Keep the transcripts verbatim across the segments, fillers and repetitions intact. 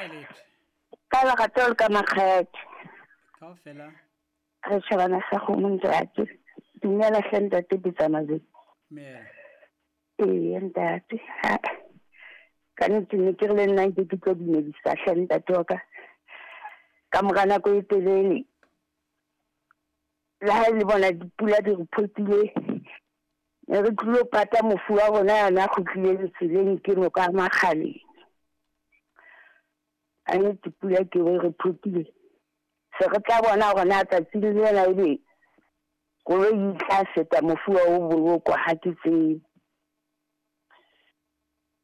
Hae letho. Ka lerato le ka makgethe. Kaofela. Re tjhabana sa kgomo ntate. Dumela hle ntate Bitsamazwe. Mela. Ee ntate. Ha. Ka nnete ne ke re le nna nke ke tlo dumedisa hle ntate wa ka. Ka mora nako e telele. Le ha le bona dipula di re photile. Ne re tlilo pata mofu wa rona yana a kgutlileng tseleng ke noka ya Makgaleng. A nnete pula ke e re photile. Se re tla bona hore na tsatsing lena ebe koloi e tla feta mofu wa o bolokwa ha ke tsebe.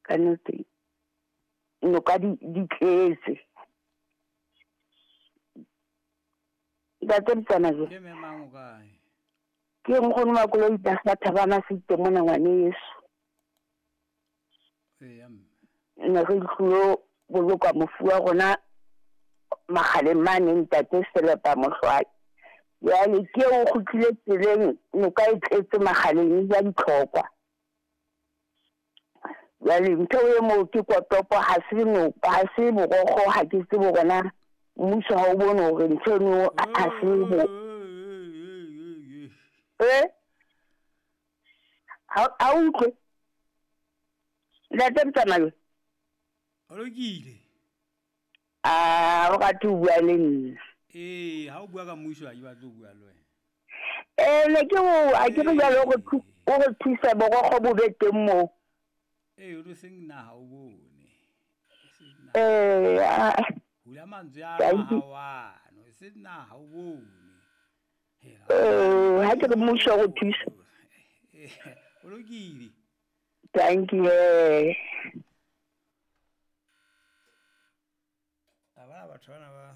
Ka nnete noka di di tletse. Ntate Mtsamazwe. Ke mme mang o kae? Ke nkgono wa koloi ba Thabana Site mona ngwaneso. Eya mme. Ne re tlilo boloka mofu wa rona Makgaleng mane ntate Selepa Mohlwai. Jwale ke o kgutlile tseleng noka e tletse Makgaleng e ja ditlhokwa. Jwale ntho e moo ke kotopo ha se noka ha se borokgo ha ke tsebe hore na mmuso ha o bone hore ntho eno ha se bo. Eh? Ha ha utlwe. Ntate Mtsamalo. O lokile. Ah, o rate ho bua le nna. Ee, ha o bua ka mmuso ha ke batle ho bua le wena. Eh, ne ke o a ke re jwale o re o re thusa borokgo bo be teng moo. Ee, o seng naha o bone. Eh, hula mantswe a hao ano, e seng naha o bone. Eh, ha ke re mmuso o re thusa. O lokile. Thank you. A bona batho bana ba